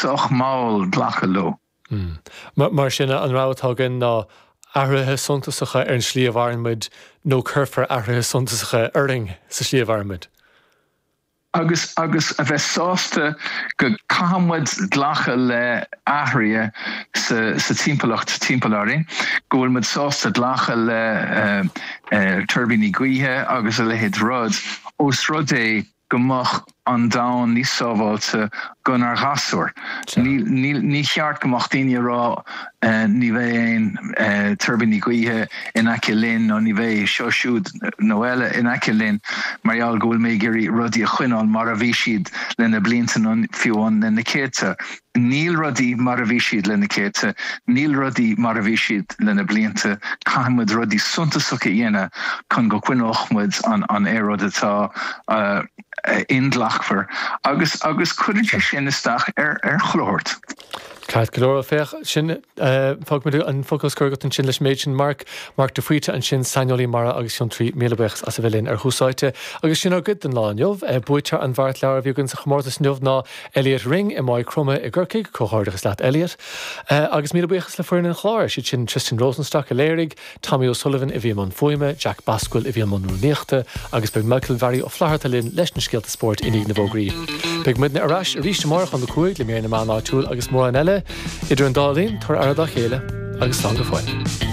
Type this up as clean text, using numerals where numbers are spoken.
sách mall glacadh leo. Mar sin, an rogha atá againn ná athruithe suntasacha ar an slí a mhaireann muid nó cuirfear athruithe suntasacha orainn sa slí a mhaireann muid. Agus agus a bheith sásta go caithfidh muid glacadh le athruithe sa sa timpeallacht timpeall orainn, go bhfuil muid sásta glacadh le tuirbíní gaoithe agus a leithéid rud, ós rud é go mbeadh an domhan níos sábháilte donár ghasúir. Ní cheart go mbeadh daoine ag rá ní bheidh aon tuirbíní gaoithe in aice linn nó ní bheidh seo siúd nó eile in aice linn mar gheall go bhfuil mé ag iarraidh rudaí a choinneáil mar a bhí siad le na blianta nó fiú amháin le na céadta. Níl rudaí mar a bhí siad le na céadta, níl rudaí mar a bhí siad le na blianta, caithfidh muid rudaí suntasacha a dhéanamh chun go gcoinneodh muid an aeráid atá inghlacmhar agus agus cuireann sé sin isteach ar chuile shórt. Ceart go leor, féach, sin, fágfaidh muid an focal scoir agat ansin leis an méid sin, Mark. Mark de Faoite ansin, saineolaí mara agus fiontraí, míle buíochas as a bheith linn ar Thús Áite. Agus sin ár gcuid don lá inniu. Buaiteoir an bheart leabhar a bhí againn sa chomórtas inniu ná Elliot Ring i Maigh Chromtha i gCorcaigh, comhghairdeachas leat Elliot. Agus míle buíochas le foireann an chláir, siad sin Tristan Rosenstock a léirigh, Tommy O'Sullivan a bhí i mbun fuaime, Jack Basquill a bhí i mbun rúnaíochta agus beidh Michael Mhary Ó Flatharta linn leis na scéalta spóirt i ndiaidh na bhfógraí. Beidh muidne ar ais arís amárach óna 5 le mír na meán áitiúil agus mórán eile. Idir an dá linn, tabhair aire dá chéile agus slán go fóill.